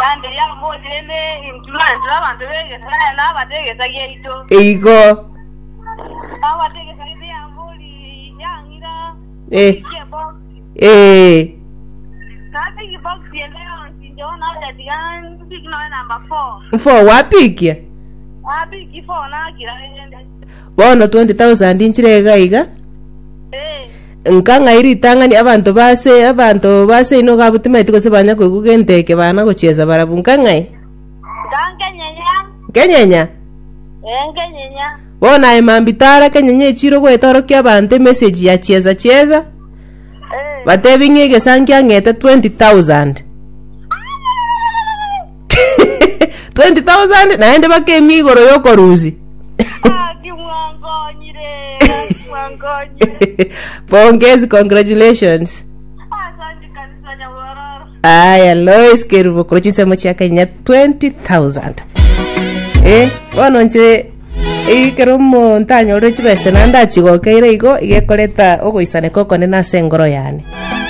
Kandi yambori rende intwe intwe abanto b'egesa na abanto b'egesa giaito. Igo. Abanto b'egesa giaito yambori yang'ira Eh. ebox. Eh. Nabiki box ende yonsi inche bono nacha tiga mbiki nonya number 4. Mfo wapikia? Nabiki 4 nakira rende. Bono 20,000 nchire iga iga. Eh. Nka ng'ai ritang'ani abanto base abanto base inwe iga abwo timaeti gose banya koigwa gento eke bana gochiesa barabwo nka ng'ai? Nka nkenyenya. Nkenyenya? Ee nkenyenya. Bono aye mambia tara kenyenya echiro goeta orokia abanto emessage ya chiesa chiesa, Ee. batebi ng'a egesa nkiang'ete 20,000. 20,000 naende bakemia igoro yokorusia. Gaki mwankonyire, gaki mwankonyire. Pongezi, congratulations. Asante kabisa nyabororo. Aya, Lois Kerubo korwa chinsemo chia Kenya 20,000. Eh, bono nche ekero omonto anyorire chibesa naende achigokeire igo, iga ekoreta ogoisaneka okonene ase engoro yane.